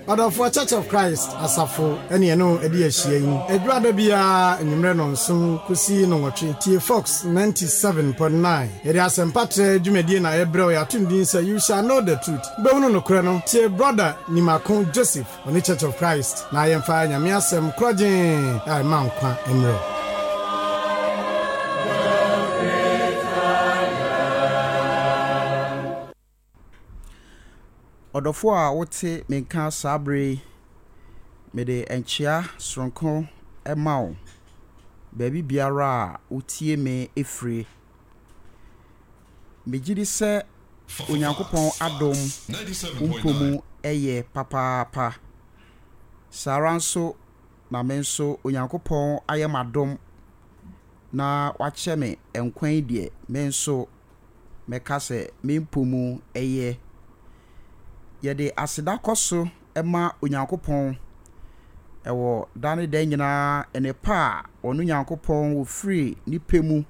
Ɔdɔfoɔ Church of Christ asafo ɛne ɛne wo adi ahyia yi. Ɛdwoada biara anwummerɛ nnɔnson kɔsi nnɔnwɔtwe, tie Fox 97.9. Yɛde asɛmpa trɛ dwumadie na ɛbrɛ wo, yɛato no din sɛ You Shall Know the Truth, Wobɛhunu Nokorɛ No. Tie Brɔda Nimako Joseph, ɔne Church of Christ, na yɛmfa Nyame asɛm korɔgyee a ɛma nkwa mmerɛ wo. Ɔdɔfoɔ a wote me nka saa berɛ yi, mede nkyea soronko ma wo baabi biara a wotie me fire. Megye di sɛ Onyankopɔn adom wo mpo mu yɛ papaapa. Saa ara nso na me nso Onyankopɔn ayɛ m'adom na wakyɛ me nkwa yi deɛ, me nso mɛka sɛ me mpo mu yɛ. Yɛde aseda kɔ so ma Onyankopɔn wɔ da ne da nyinaa nnepa a ɔno Nyankopɔn ɔfiri ne pɛ mu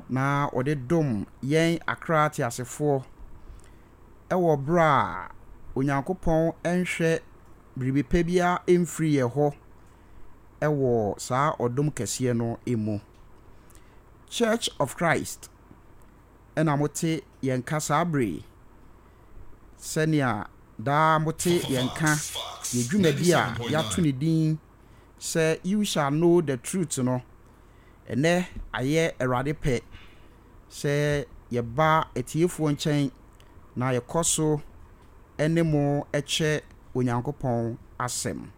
na ɔde dom yɛn akra ateasefoɔ wɔ berɛ a Onyankopɔn nhwɛ biribi pa biara mfiri yɛn hɔ wɔ saa ɔdom kɛseɛ no mu. Church of Christ na mote yɛn nka saa bere yi, sɛnea daa mote yɛn nka yɛ dwumadi a yɛato ne din sɛ You Shall Know the Truth no. Ɛnnɛ ayɛ Awurade pɛ sɛ yɛba atiefoɔ nkyɛn na yɛkɔ so ne mo kyɛ Onyankopɔn asɛm.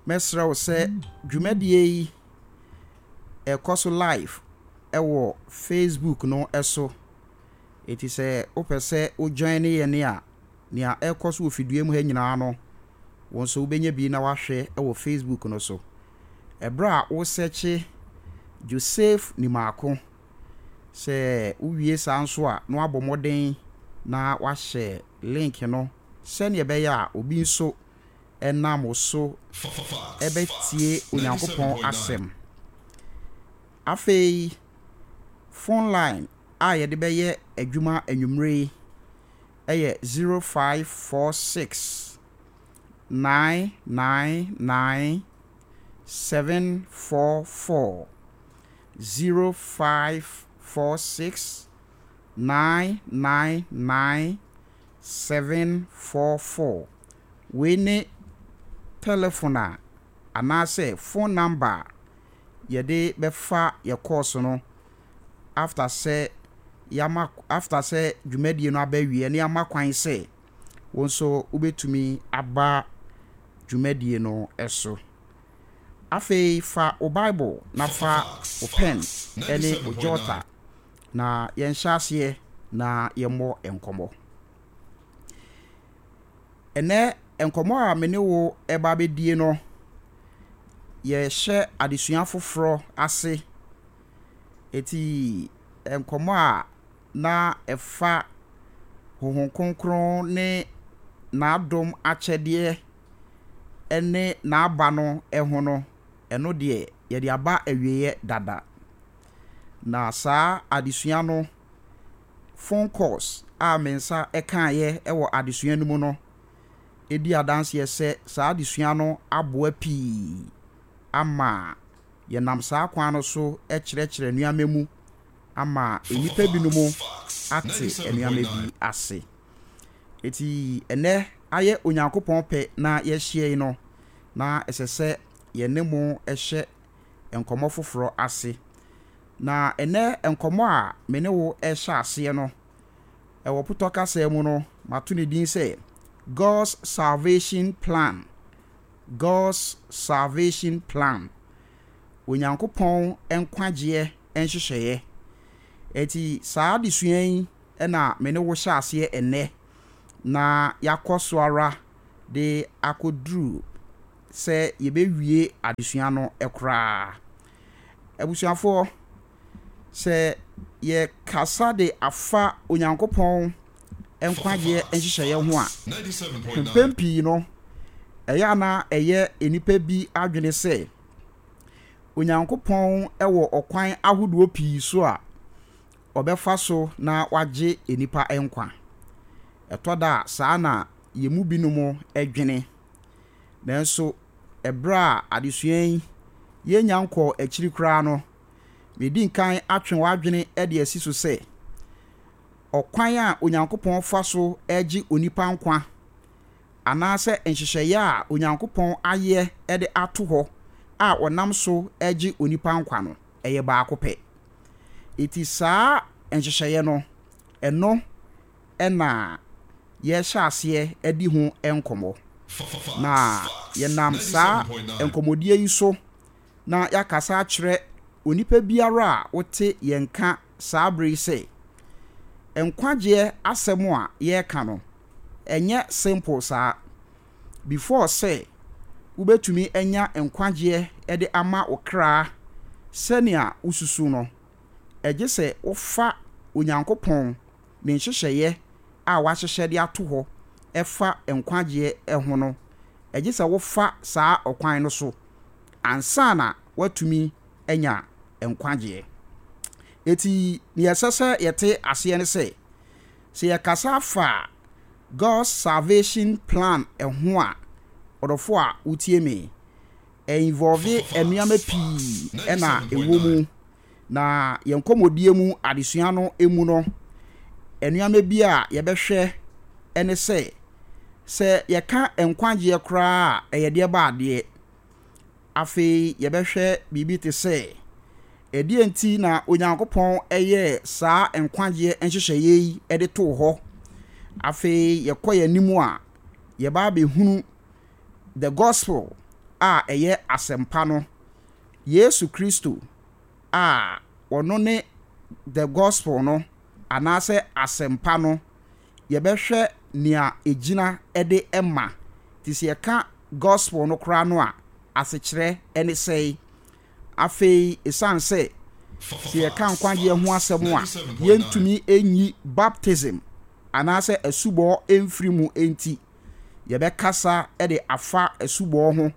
Mɛsrɛ wo sɛ dwumadie yi ɛkɔ so live wɔ Facebook no so. Enti sɛ wopɛ sɛ wo join yɛn a, nea ɛrekɔ so wɔ fidua mu ha nyinaa no, wo nso wobɛnya bi na wahwɛ wɔ Facebook no so. Ɛberɛ a wosɛkye Joseph Nimako, sɛ wowie saa nso a na wabɔ mmɔden na wahyɛ link no sɛdeɛ ɛbɛyɛ a obi nso nam wo so bɛtie Onyankopɔn asɛm. Afei, phone line a yɛde bɛyɛ adwuma anwummere yi yɛ 0546 999 744. 0546 999 744. Wei ne tɛlɛfon a anaasɛ phone number a yɛde bɛfa yɛ course no after sɛ yɛama after sɛ dwumadie no aba awieɛ na yɛama kwan sɛ wo nso wobɛtumi aba dwumadie no so. Afei fa wo Bible na fa wo pen ne wo jota na yɛnhyɛ aseɛ na yɛmmɔ nkɔmmɔ. Ɛnnɛ, nkɔmmɔ a me ne wo reba abɛdie no, yɛrehyɛ adesua foforɔ ase. Eti nkɔmmɔ a na ɛfa Honhom Kronkron ne n'adom akyɛdeɛ ne n'aba no ho no, ɛno deɛ yɛde aba awieɛ dada. Na saa adesua no, phone calls a me nsa kaeɛ wɔ adesua no mu no di adanseɛ sɛ saa adesua no aboa pii ama yɛnam saa kwan no so kyerɛkyerɛ nneɛma mu ama nnipa binom ate nneɛma bi ase. Enti ɛnnɛ ayɛ Onyankopɔn pɛ na yɛahyia yi no, na ɛsɛ sɛ yɛne mo hyɛ nkɔmmɔ foforɔ ase. Na ɛnnɛ nkɔmmɔ a me ne wo rehyɛ aseɛ no, ɛwɔ Potɔ kasa mu no, mato ne din sɛ God's Salvation Plan. God's Salvation Plan. Onyankopɔn nkwagyeɛ nhyehyɛeɛ. Enti saa adesua yi na me ne wo hyɛ aseɛ ɛnnɛ, na yɛakɔ so ara de akɔduru sɛ yɛbɛwie adesua no koraa. Abusuafoɔ, sɛ yɛkasa de afa Onyankopɔn nkwagyeɛ nhyehyɛeɛ ho a, mpɛn pii no, ɛyɛ a na ɛyɛ nnipa bi adwene sɛ Onyankopɔn wɔ ɔkwan ahodoɔ pii so a ɔbɛfa so na wagye nnipa nkwa. Ɛtɔ da a, saa na. yɛn mu binom dwene. Nanso ɛberɛ a adesua yi yɛnnya nkɔɔ akyiri koraa no, medi nkan atwe w'adwene de asi so sɛ, ɔkwan a Onyankopɔn fa so gye onipa nkwa anaasɛ nhyehyɛeɛ a Onyankopɔn ayɛ de ato hɔ a ɔnam so gye onipa nkwa no, ɛyɛ baako pɛ. Enti saa nhyehyɛeɛ no, ɛno na yɛrehyɛ aseɛ adi ho nkɔmmɔ. Na yɛnam saa nkɔmmɔdie yi so na yɛakasa akyerɛ onipa biara a wote yɛn nka saa berɛ yi sɛ, nkwagyeɛ asɛm a yɛreka no, ɛnyɛ simple saa. Before sɛ wobɛtumi anya nkwagyeɛ de ama wo kra sɛnea wosusu no, ɛgye sɛ wofa Onyankopɔn ne nhyehyɛeɛ a wahyehyɛ de ato hɔ ɛfa nkwagyeɛ ho no, ɛgye sɛ wofa saa ɔkwan no so ansa na woatumi anya nkwagyeɛ. Enti deɛ ɛsɛ sɛ yɛte aseɛ ne sɛ, sɛ yɛkasa fa God's salvation plan ho a, ɔdɔfoɔ a wotie me, ɛ-involve nneɛma pii na ɛwɔ mu. Na yɛn nkɔmmɔdie mu adesua no mu no, nneɛma bi a yɛbɛhwɛ ne sɛ, sɛ yɛka nkwagyeɛ koraa a, ɛyɛ deɛ ba adeɛ. Afei yɛbɛhwɛ biribi te sɛ, ɛdeɛn nti na Onyankopɔn yɛɛ saa nkwagyeɛ nhyehyɛeɛ yi de too hɔ? Afei yɛkɔ yɛn anim a, yɛba abɛhunu the gospel a ɛyɛ asɛmpa no, Yesu Kristo a ɔno ne the gospel no anaasɛ asɛmpa no, yɛbɛhwɛ nea ɛgyina de ma. Nti sɛ yɛka gospel no koraa no a, asekyerɛ ne sɛe? Afei, ɛsiane sɛ sɛ yɛka nkwagyeɛ ho asɛm a, yɛntumi nyi baptism anaasɛ asubɔ mfiri mu nti, yɛbɛkasa de afa asubɔ ho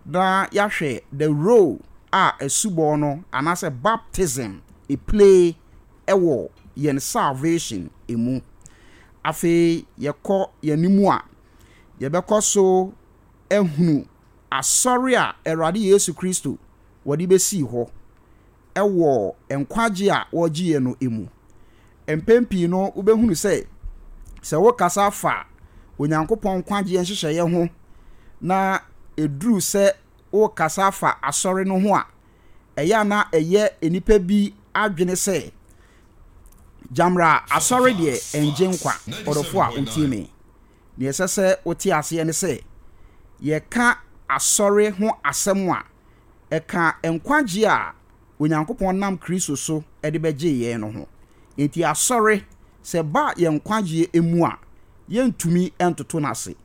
na yɛahwɛ the role a asubɔ no anaasɛ baptism play wɔ yɛn salvation mu. Afei yɛkɔ yɛn anim a, yɛbɛkɔ so ahunu asɔre a Awurade Yesu Kristo wɔde bɛsii hɔ wɔ nkwagye a wɔregye yɛn no mu. Mpɛn pii no, wobɛhunu sɛ, sɛ wokasa fa Onyankopɔn nkwagyeɛ nhyehyɛeɛ ho na ɛduru sɛ wokasa fa asɔre no ho a, ɛyɛ a na ɛyɛ nnipa bi adwene sɛ, Gyamra, asɔre deɛ ɛngye nkwa. Ɔdɔfo a wotie me, nea ɛsɛ sɛ wote aseɛ ne sɛ, yɛka asɔre ho asɛm a, ɛka nkwagye a Onyankopɔn nam Kristo so de bɛgyee yɛn no ho. Enti asɔre, sɛ ɛba yɛn nkwagyeɛ mu a, yɛntumi ntoto no ase.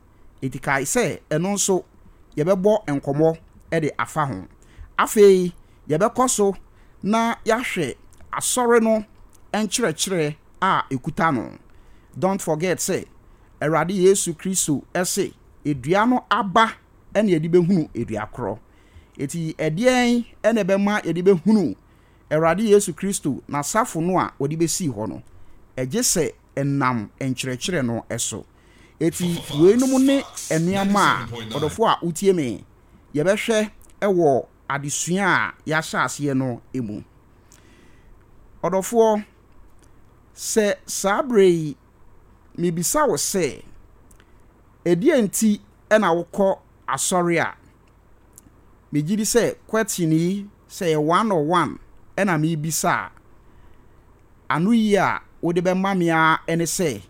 Enti kae sɛ ɛno nso yɛbɛbɔ nkɔmmɔ de afa ho. Afei yɛbɛkɔ so na yɛahwɛ Asɔre no nkyerɛkyerɛ a ɛkuta no. Don't forget sɛ Awurade Yesu Kristo se dua no aba na yɛde bɛhunu dua korɔ. Enti ɛdeɛn na ɛbɛma yɛde bɛhunu Awurade Yesu Kristo n'asafo no a ɔde bɛsii hɔ no? Ɛgye sɛ ɛnam nkyerɛkyerɛ no so. Enti weinom ne nneɛma a, ɔdɔfoɔ a wotie me, yɛbɛhwɛ wɔ adesua a yɛahyɛ aseɛ no mu. Ɔdɔfoɔ, sɛ saa berɛ yi mebisa wo sɛ, ɛdeɛn nti na wokɔ asɔre a, megye di sɛ question yi, sɛ ɛyɛ one on one na mebisa a, anoyie a wode bɛma me ara ne sɛ,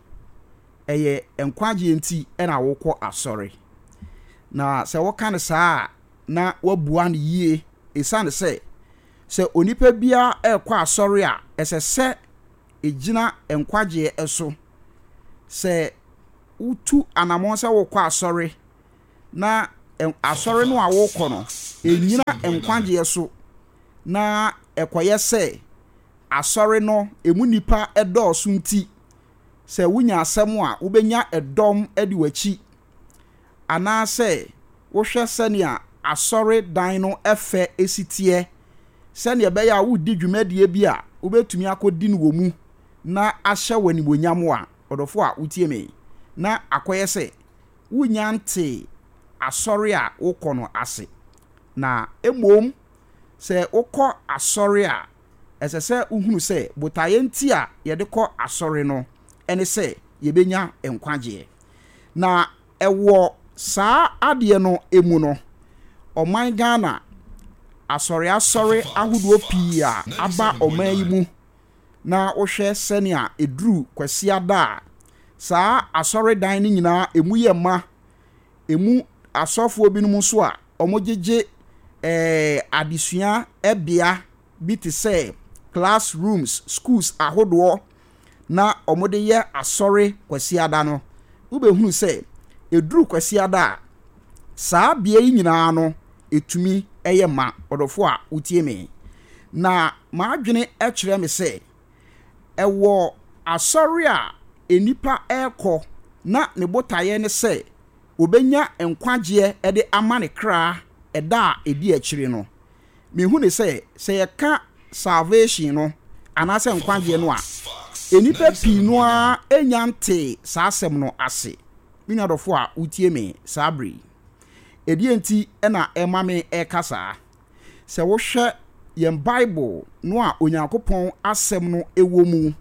ɛyɛ nkwagyeɛ nti na wokɔ asɔre. Na sɛ woka no saa a, na woabua no yie ɛsiane sɛ, sɛ onipa biara rekɔ asɔre a, ɛsɛ sɛ ɛgyina nkwagyeɛ so. Sɛ wotu anammɔn sɛ wokɔ asɔre na asɔre no a wokɔ no, ɛnnyina nkwagyeɛ so na ɛkɔyɛ sɛ asɔre no ɛmu nnipa dɔɔso nti, sɛ wunya asɛm a, wubenya dɔm adi w'akyi, anaasɛ wohwɛ sɛnea asɔredan no fɛ si teɛ, sɛnea ɛbɛyɛ a woredi dwumadie bi a wubetumi akodi no wɔ mu na ahyɛ wo animuonyam a, ɔdɔfo a wutie me, na akɔyɛ sɛ. wonnya ntee asɔre a wokɔ no ase. Na mmom sɛ wokɔ asɔre a, ɛsɛ sɛ wohunu sɛ botaeɛ nti a yɛde kɔ asɔre no ne sɛ yɛbɛnya nkwagyeɛ. Na ɛwɔ saa adeɛ no mu no, ɔman Ghana asɔreasɔre ahodoɔ pii a aba ɔman yi mu na wohwɛ sɛnea ɛduru Kwasiada a, saa asɔredan no nyinaa ɛmu yɛ ma. Ɛmu asɔfoɔ binom nso a wɔgyegye eh, adesua bea bi te sɛ class rooms, schools ahodoɔ na wɔde yɛ asɔre Kwasiada no, wobɛhunu sɛ ɛduru Kwasiada a, saa bea yi nyinaa no, ɛtumi yɛ ma. Ɔdɔfoɔ a wotie me, na m'adwene kyerɛ me sɛ ɛwɔ asɔre a nnipa rekɔ na ne botaeɛ ne sɛ ɔbɛnya nkwagyeɛ de ama ne kra ɛda a ɛdi akyire no. Mehu no sɛ, sɛ yɛka salvation no anaasɛ nkwagyeɛ no a, nnipa pii no ara nnya ntee saa asɛm no ase. Me nua dɔfo a wotie me saa bere yi, ɛdeɛn nti na ɛma me reka saa? Sɛ wohwɛ yɛn Bible no a Onyankopɔn Asɛm no wɔ mu,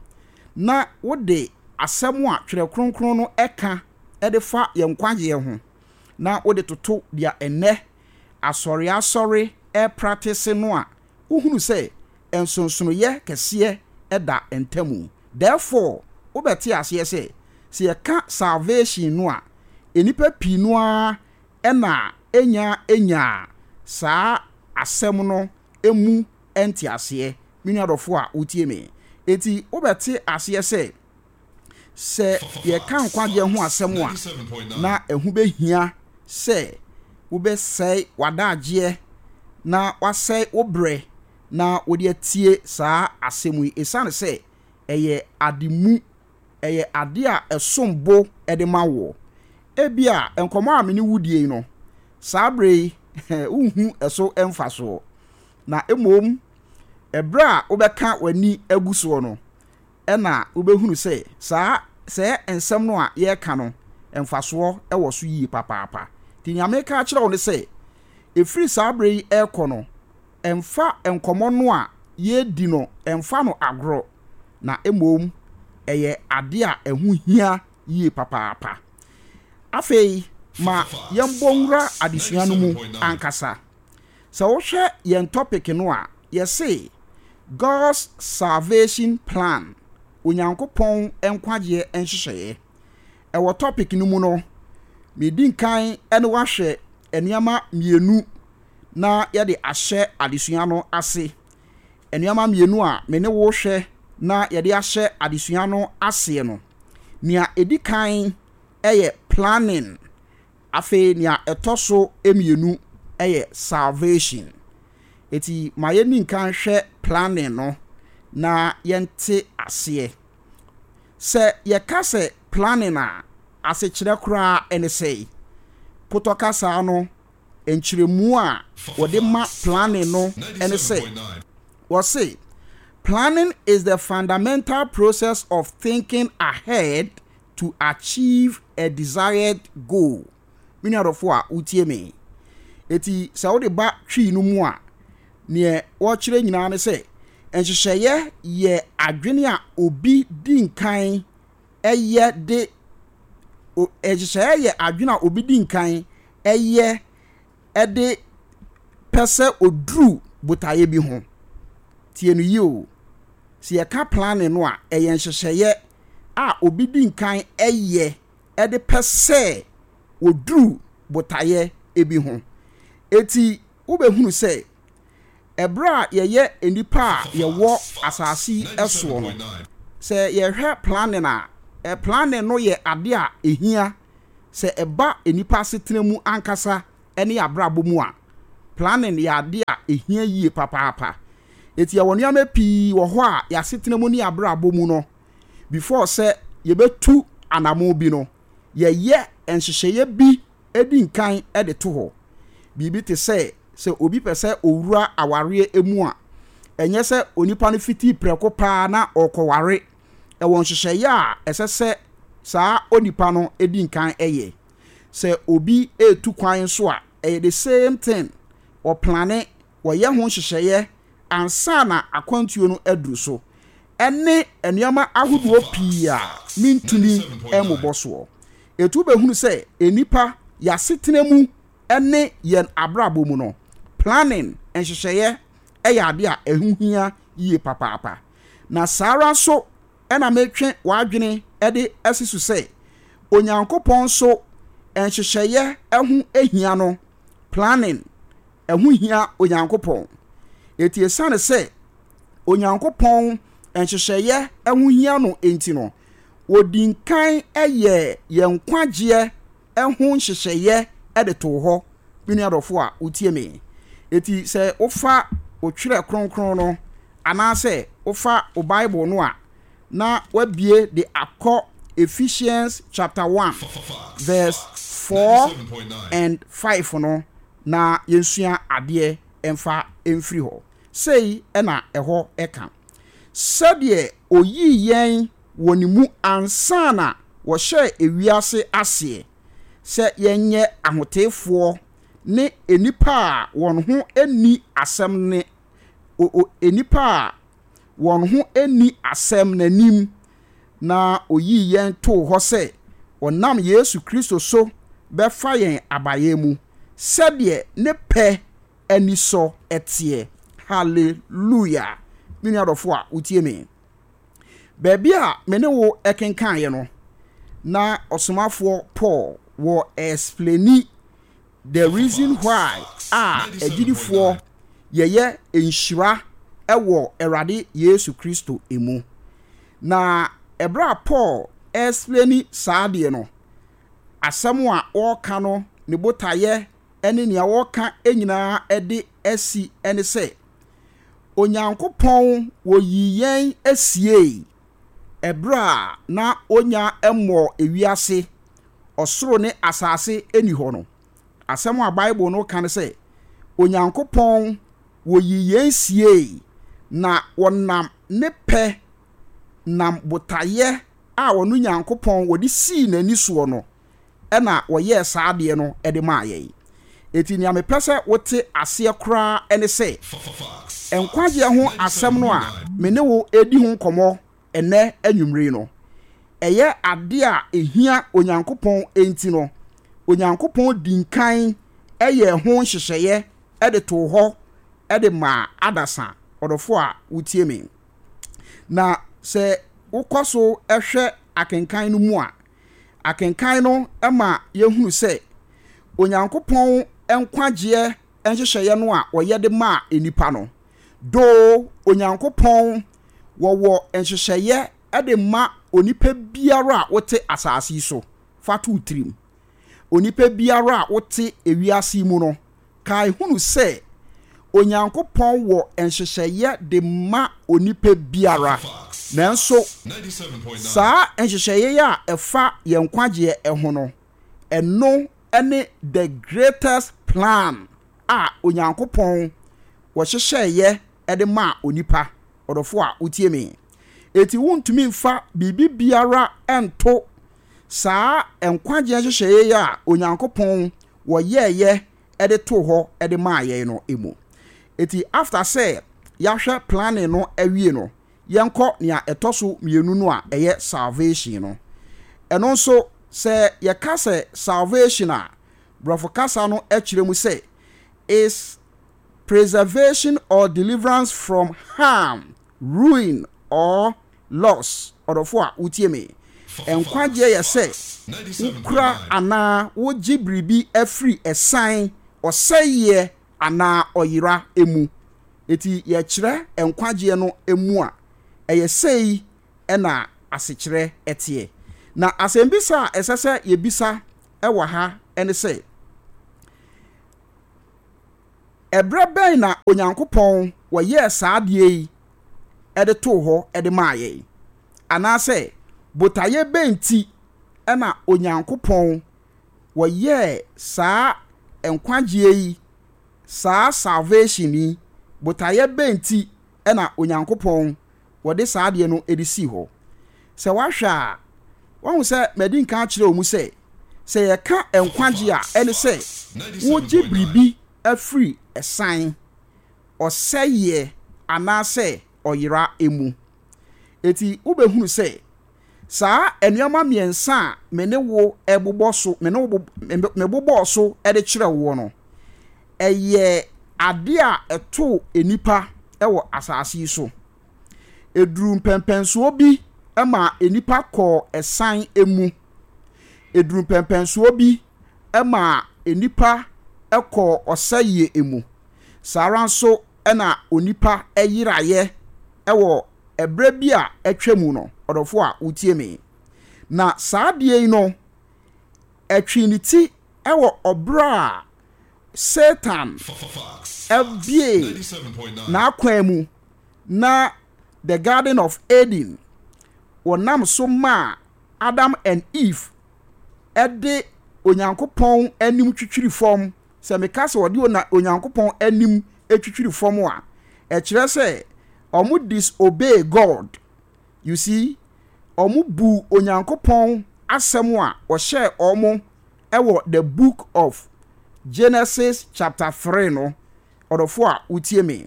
na wode asɛm a Twerɛ Kronkron no ka de fa yɛn nkwagyeɛ ho, na wode toto deɛ ɛnnɛ asɔreasɔre repratese no a, wohunu sɛ nsonsonoeɛ kɛseɛ da ntamu. Therefore, wobɛte aseɛ sɛ, sɛ yɛka salvation no a, nnipa pii no ara na ɛnya nyaa saa asɛm no mu nteaseɛ, me nua dɔfoɔ a wotie me. Enti wobɛte aseɛ sɛ, Sɛ yɛka nkwagyeɛ ho asɛm a, na ɛho bɛhia sɛ wobɛsɛe w'adagyeɛ na woasɛe wo berɛ na wode atie saa asɛm yi ɛsiane sɛ ɛyɛ ade mu, ɛyɛ adeɛ a ɛsom bo de ma woɔ. Ebia nkɔmmɔ a me ne wo die yi no, saa berɛ yi wonhu ɛso mfasoɔ, na mmom ɛberɛ a wobɛka w'ani agu soɔ no, ɛna wobɛhunu sɛ saa sɛɛ nsɛm no a yɛreka no mfasoɔ wɔ so yie papaapa. Nti nea mereka akyerɛ wo ne sɛ, ɛfiri saa berɛ yi rekɔ no, mfa nkɔmmɔ no a yɛredi no mfa no agorɔ, na mmom ɛyɛ adeɛ a ɛho hia yie papaapa. Afei ma yɛmbɔ nwura adesua no mu ankasa. Sɛ wohwɛ yɛn topic no a, yɛse God's Salvation Plan, Onyankopɔn nkwagyeɛ nhyehyɛeɛ. Ɛwɔ topic no mu no, medi nkan ne wo ahwɛ nneɛma mmienu na yɛde ahyɛ adesua no ase. Nneɛma mmienu a me ne wo hwɛ na yɛde ahyɛ adesua no aseɛ no, nea ɛdi kan yɛ planning. Afei nea ɛtɔ so mmienu yɛ salvation. Eti ma yɛnni nkan nhwɛ planning no na yɛnte aseɛ. Sɛ yɛka sɛ planning a, asekyerɛ koraa ne sɛn? Potɔ kasa no nkyerɛmu a wɔde ma planning no ne sɛ, wɔse, Planning is the fundamental process of thinking ahead to achieve a desired goal. Me nua dɔfo a wotie me. Eti sɛ wode ba Twi no mu a, neɛ wɔkyerɛ nyinaa ne sɛ nhyehyɛeɛ yɛ adwene a obi di nkan yɛ de nhyehyɛeɛ yɛ adwene a obi di nkan yɛ de pɛ sɛ ɔduru botaeɛ bi ho. Tie no yie o. Sɛ yɛka planning no a, ɛyɛ nhyehyɛeɛ a obi di nkan yɛ de pɛ sɛ ɔduru botaeɛ bi ho. Enti wobɛhunu sɛ, ɛberɛ a yɛyɛ nnipa a yɛwɔ asase yi soɔ no, sɛ yɛhwɛ planning a, planning no yɛ adeɛ a ɛhia sɛ ɛba nnipa asetena mu ankasa ne abrabɔ mu a, planning yɛ adeɛ a ɛhia yie papaapa. Enti yɛwɔ nneɛma pii wɔ hɔ a yɛn asetena mu ne yɛn abrabɔ mu no, before sɛ yɛbɛtu anamon bi no, yɛyɛ nhyehyɛeɛ bi di nkan de to hɔ. Biribi te sɛ, sɛ obi pɛ sɛ ɔwura awareɛ mu a, ɛnyɛ sɛ onipa no fiti prɛko paa na ɔrekɔware. Ɛwɔ nhyehyɛeɛ a ɛsɛ sɛ saa onipa no di nkan yɛ. Sɛ obi retu kwan nso a, ɛyɛ the same thing. Wɔplane, wɔyɛ ho nhyehyɛeɛ ansa na akwantuo no aduru so, ɛne nneɛma ahodoɔ pii a mentumi mmobɔ soɔ. Ɛtu wobɛhunu sɛ nnipa, yɛn asetena mu ne yɛn abrabɔ mu no, planning, nhyehyɛeɛ, yɛ adeɛ a ɛho hia yie papaapa. Na saa ara nso na metwe w'adwene de asi so sɛ, Onyankopɔn nso nhyehyɛeɛ ho hia no, planning, ɛho hia Onyankopɔn. Enti esiane sɛ Onyankopɔn nhyehyɛeɛ ho hia no nti no, ɔdi nkan yɛɛ yɛn nkwagyeɛ ho nhyehyɛeɛ de too hɔ, me nua dɔfo a wotie me. Enti sɛ wofa wo Twerɛ Kronkron no anaasɛ wofa wo Bible no a, na woabue de akɔ Ephesians chapter 1 verse 4 and 5 no na yɛnsua adeɛ mfa mfiri hɔ. Sei na ɛhɔ ka. Sɛdeɛ ɔyii yɛn wɔ ne mu ansa na wɔhyɛɛ ewiase aseɛ sɛ yɛnyɛ ahoteefoɔ ne nnipa a wɔn ho nni asɛm ne o o nnipa a wɔn ho nni asɛm n'anim, na ɔyii yɛn too hɔ sɛ ɔnam Yesu Kristo so bɛfa yɛn abayɛ mu, sɛdeɛ ne pɛ anisɔ teɛ. Hallelujah! Me nua dɔfo a wotie me. Baabi a me ne wo kenkaeɛ no, na ɔsomafoɔ Paul wɔ explaini the reason why a agyidifoɔ yɛyɛ nhyira wɔ Awurade Yesu Kristo mu. Na ɛberɛ a Paul explaini saa adeɛ no, asɛm a ɔreka no ne botaeɛ ne nea ɔreka nyinaa de asi ne sɛ, Onyankopɔn wɔyii yɛn siei ɛberɛ a na ɔnnya mmɔɔ ewiase, ɔsoro ne asase nni hɔ no. Asɛm a Bible no ka ne sɛ, Onyankopɔn wɔyii yɛn siei na wɔnam ne pɛ nam botaeɛ a ɔno Nyankopɔn wɔde sii n'ani soɔ no na wɔyɛɛ saa adeɛ no de maa yɛn. Enti nea mepɛ sɛ wote aseɛ koraa ne sɛ, nkwagyeɛ ho asɛm no a me ne wo redi ho nkɔmmɔ ɛnnɛ anwummere yi no, ɛyɛ adeɛ a ɛhia Onyankopɔn enti no, Onyankopɔn dii nkan yɛɛ ho nhyehyɛeɛ de too hɔ de maa adasa. Ɔdɔfoɔ a wotie me, na sɛ wokɔ so hwɛ akenkan no mu a, Akenkan no ma yɛhunu sɛ Onyankopɔn nkwagyeɛ nhyehyɛeɛ no a ɔyɛ de maa nnipa no, doo Onyankopɔn wɔwɔ nhyehyɛeɛ de ma onipa biara a wote asase yi so. Fa to wo tirim. Onipa biara a wote ewiase yi mu no, Kae hunu sɛ Onyankopɔn wɔ nhyehyɛeɛ de ma onipa biara. Nanso saa nhyehyɛeɛ yi a ɛfa yɛn nkwagyeɛ ho no, ɛno ne the greatest plan a Onyankopɔn wɔhyehyɛeɛ de maa onipa. Ɔdɔfoɔ a wotie me, enti wontumi mfa biribi biara nto saa nkwagyeɛ nhyehyɛeɛ yi a Onyankopɔn wɔyɛeɛ de too hɔ de maa yɛn no mu. Enti after sɛ yɛahwɛ planning no awie no, yɛnkɔ nea ɛtɔ so mmienu no a ɛyɛ salvation no. Ɛno nso, sɛ yɛka sɛ salvation a, Borɔfo kasa no kyerɛ mu sɛ is preservation or deliverance from harm, ruin or loss. Ɔdɔfo a wotie me, nkwagyeɛ yɛ sɛ wokura anaa wogye biribi afiri ɛsan, ɔsɛeɛ anaa ɔyera mu. Enti yɛkyerɛ nkwagyeɛ no mu a, ɛyɛ sei na asekyerɛ teɛ. Na asɛmbisa a ɛsɛ sɛ yɛbisa wɔ ha ne sɛ, Ɛberɛ bɛn na Onyankopɔn wɔyɛɛ saa adeɛ yi de too hɔ de maa yɛn? Anaasɛ botaeɛ bɛn nti na Onyankopɔn wɔyɛɛ saa nkwagyeɛ yi, saa salvation yi, botaeɛ bɛn nti na Onyankopɔn wɔde saa adeɛ no de sii hɔ? Sɛ woahwɛ a, woahu sɛ madi nkan akyerɛ wo mu sɛ, Sɛ yɛka nkwagye a, ɛne sɛ wogye biribi afiri ɛsan, ɔsɛeɛ anaasɛ ɔyera mu. Enti wobɛhunu sɛ saa nneɛma mmiɛnsa a me ne wo bobɔ so, me ne wo mebobɔɔ so de kyerɛ woɔ no, ɛyɛ adeɛ a ɛtoo nnipa wɔ asase yi so. Ɛduruu mpɛnpɛnsoɔ bi maa nnipa kɔɔ ɛsan mu. Ɛduruu mpɛnpɛnsoɔ bi maa nnipa kɔɔ ɔsɛeɛ mu. Saa ara nso na onipa yeraeɛ wɔ ɛberɛ bi a atwa mu no, ɔdɔfoɔ a wotie me. Na saa adeɛ yi no, ɛtwee ne ti wɔ ɔberɛ a Satan buee n'akwan mu na the Garden of Eden, wɔnam so maa Adam and Eve de Onyankopɔn anim twitwiri fam. Sɛ meka sɛ wɔde Onyankopɔn anim twitwiri fam a, ɛkyerɛ sɛ wɔn disobey God. You see, wɔn buu Onyankopɔn asɛm a ɔhyɛɛ wɔn wɔ the book of Genesis chapter 3 no, ɔdɔfo a wotie me.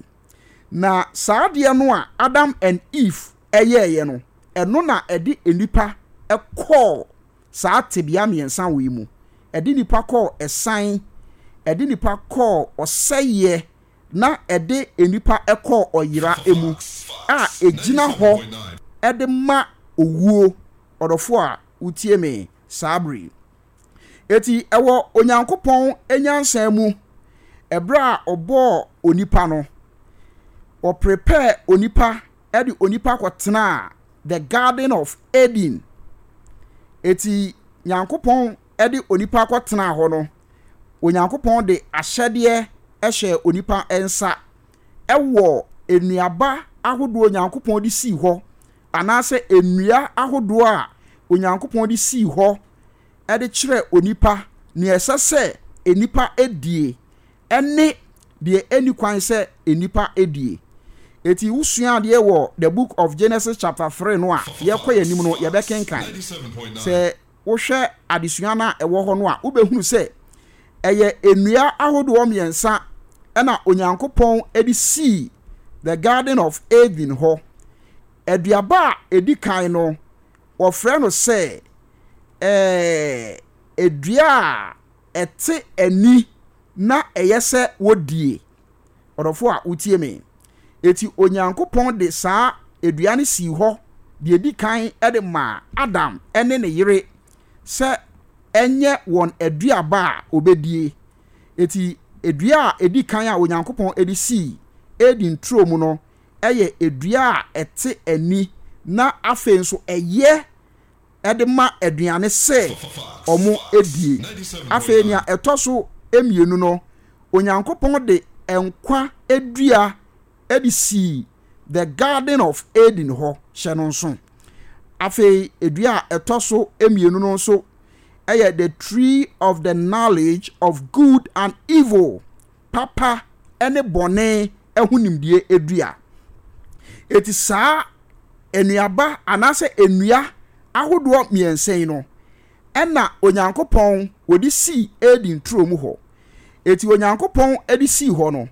Na saa adeɛ no a Adam and Eve yɛeɛ no, ɛno na ɛde nnipa kɔɔ saa tebea mmiɛnsa wei mu. Ɛde nnipa kɔɔ ɛsan, ɛde nnipa kɔɔ ɔsɛeɛ, na ɛde nnipa kɔɔ ɔyera mu a ɛgyina hɔ de ma owuo. Ɔdɔfoɔ a wotie me saa bere yi. Enti ɛwɔ Onyankopɔn nyansa mu, ɛberɛ a ɔbɔɔ onipa no, ɔprepare onipa de onipa kɔtenaa the Garden of Eden. Eti Nyankopɔn de onipa kɔtenaa hɔ no, Onyankopɔn de ahyɛdeɛ hyɛɛ onipa nsa ɛwɔ nnuaba ahodoɔ Onyankopɔn de sii hɔ anaasɛ nnua ahodoɔ a Onyankopɔn de sii hɔ de kyerɛɛ onipa nea ɛsɛ sɛ nnipa die ne deɛ ɛnni kwan sɛ nnipa die. Eti wosua adeɛ wɔ the book of Genesis chapter 3 no a yɛkɔ yɛn anim no yɛbɛkenkan. Sɛ wohwɛ adesua no a ɛwɔ hɔ no a wobɛhunu sɛ ɛyɛ nnua ahodoɔ mmiɛnsa ɛna Onyankopɔn de sii the Garden of Eden hɔ. Aduaba a ɛdi kan no wɔfrɛ no sɛ ɛɛ dua a ɛte ani na ɛyɛ sɛ wodie. Ɔdɔfo a wotie me. Eti Onyankopɔn de saa dua no sii hɔ deɛ edi kan de maa Adam ne ne yere sɛ ɛnyɛ wɔn aduaba a wɔbɛdie. Eti dua a edi kan a Onyankopɔn de sii Eden turo mu no yɛ dua a ɛte ani na afei nso ɛyɛ de ma aduane sɛ wɔdie. Afei nea ɛtɔ so mmienu no, Onyankopɔn de nkwa dua de sii the Garden of Eden hɔ, hyɛ no nso. Afei dua a ɛtɔ so mmienu no nso yɛ the tree of the knowledge of good and evil, papa ne bɔne ho nimdeɛ dua. Eti saa nnuaba anaasɛ nnua ahodoɔ mmiɛnsa yi no, ɛna Onyankopɔn wɔde sii Eden turo mu hɔ. Eti Onyankopɔn de sii hɔ no,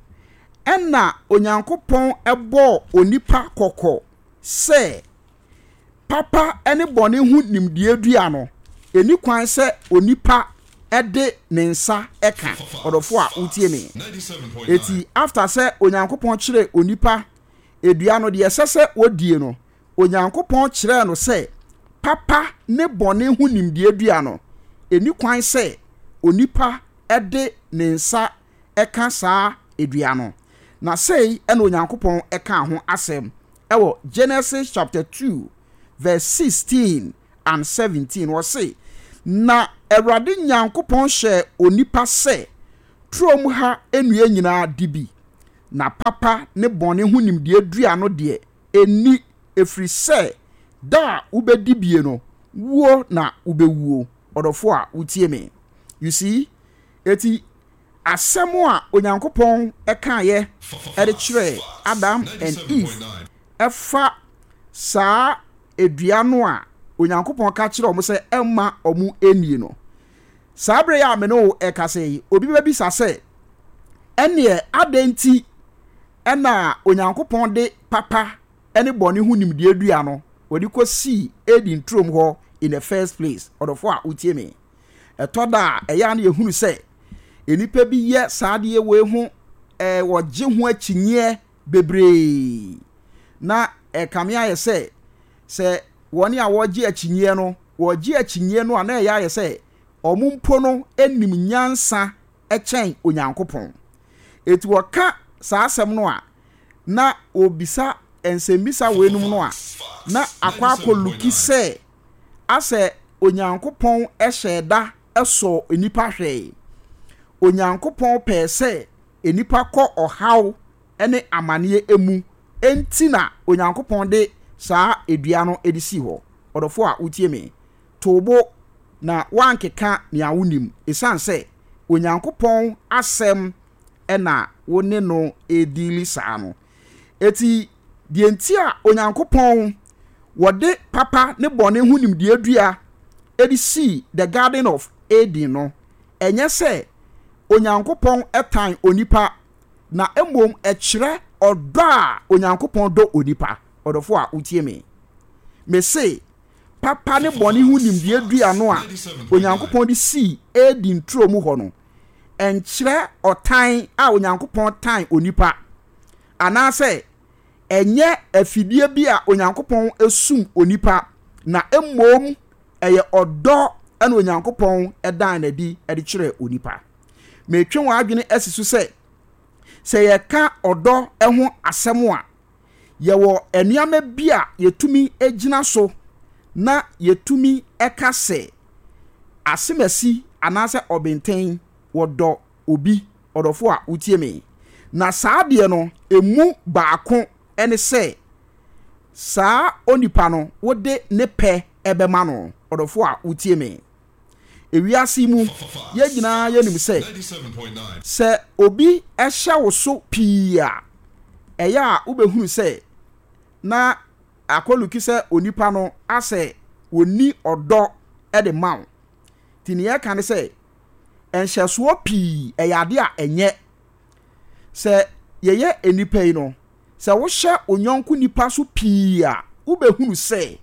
ɛna Onyankopɔn bɔɔ onipa kɔkɔ sɛ papa ne bɔne ho nimdeɛ dua no, ɛni kwan sɛ onipa de ne nsa ka. Ɔdɔfo a wotie me. Eti after sɛ Onyankopɔn kyerɛ onipa dua no deɛ ɛsɛ sɛ wɔdie no, Onyankopɔn kyerɛɛ no sɛ papa ne bɔne ho nimdeɛ dua no, ɛni kwan sɛ onipa de ne nsa ka saa dua no. Na sei na Onyankopɔn kaa ho asɛm wɔ Genesis chapter 2 verse 16 and 17. Ɔse, Na Awurade Nyankopɔn hyɛɛ onipa sɛ, Turom ha nnua nyinaa di bi, na papa ne bɔne ho nimdeɛ dua no deɛ, nni, ɛfiri sɛ da a wobɛdi bie no, wuo na wobɛwuo. Ɔdɔfoɔ a wotie me. You see? Eti asɛm a Onyankopɔn kaeɛ de kyerɛɛ Adam and Eve ɛfa saa dua no a Onyankopɔn ka kyerɛɛ wɔn sɛ ɛmma wɔn nnie no. Saa bere yi a me ne wo rekasa yi, obi bɛbisa sɛ, Ɛnneɛ adɛn nti na Onyankopɔn de papa ne bɔne ho nimdeɛ dua no ɔde kɔsii Eden turom hɔ in the first place? Ɔdɔfoɔ a wotie me, ɛtɔ da a ɛyɛ a na yɛhunu sɛ nnipa bi yɛ saa adeɛ wei ho eh, wɔgye ho akyinnyeɛ bebree na ɛkame ayɛ sɛ sɛ wɔn a wɔregye akyinnyeɛ no wɔregye akyinnyeɛ no a na ɛyɛ ayɛ sɛ wɔn mpo no nim nyansa kyɛn Onyankopɔn. Eti wɔka saa asɛm no a, na wɔbisa nsɛmmisa weinom no a, na akɔ akɔluki sɛ asɛ Onyankopɔn hyɛɛ da sɔɔ nnipa hwɛe. Onyankopɔn pɛɛ sɛ nnipa kɔ ɔhaw ne amaneɛ mu enti na Onyankopɔn de saa dua no de sii hɔ. Ɔdɔfoɔ a wotie me, to wo bo na woankeka nea wonnim, ɛsiane sɛ Onyankopɔn asɛm na wo ne no rediili saa no. Eti deɛ nti a Onyankopɔn wɔde papa ne bɔne ho nimdeɛ dua de sii the Garden of Eden no, ɛnyɛ sɛ Onyankopɔn tan onipa, na mmom ɛkyerɛ ɔdɔ a Onyankopɔn dɔ onipa. Ɔdɔfo a wotie me, mese papa ne bɔne ho nimdeɛ dua no a Onyankopɔn de sii Eden turo mu hɔ no, ɛnkyerɛ ɔtan a Onyankopɔn tan onipa, anaasɛ ɛnyɛ afidie bi a Onyankopɔn sum onipa, na mmom ɛyɛ ɔdɔ na Onyankopɔn dan no adi de kyerɛ onipa. Metwe wɔn adwene asi so sɛ, sɛ yɛka ɔdɔ ho asɛm a, yɛwɔ nneɛma bi a yɛtumi gyina so na yɛtumi ka sɛ asemasi anaasɛ ɔbenten wɔdɔ obi, ɔdɔfo a wotie me. Na saa adeɛ no, emu baako ne sɛ saa onipa no wode ne pɛ bɛma no, ɔdɔfo a wotie me. Ewiase yi mu, yɛn nyinaa yɛnim sɛ, sɛ obi hyɛ wo so pii a, ɛyɛ a wobɛhunu sɛ na akɔluki sɛ onipa no asɛ ɔnni ɔdɔ de ma wo. Nti nea yɛka ne sɛ, nhyɛsoɔ pii ɛyɛ adeɛ a ɛnyɛ. Sɛ yɛyɛ nnipa yi no, sɛ wohyɛ wo yɔnko nipa so pii a, wobɛhunu sɛ.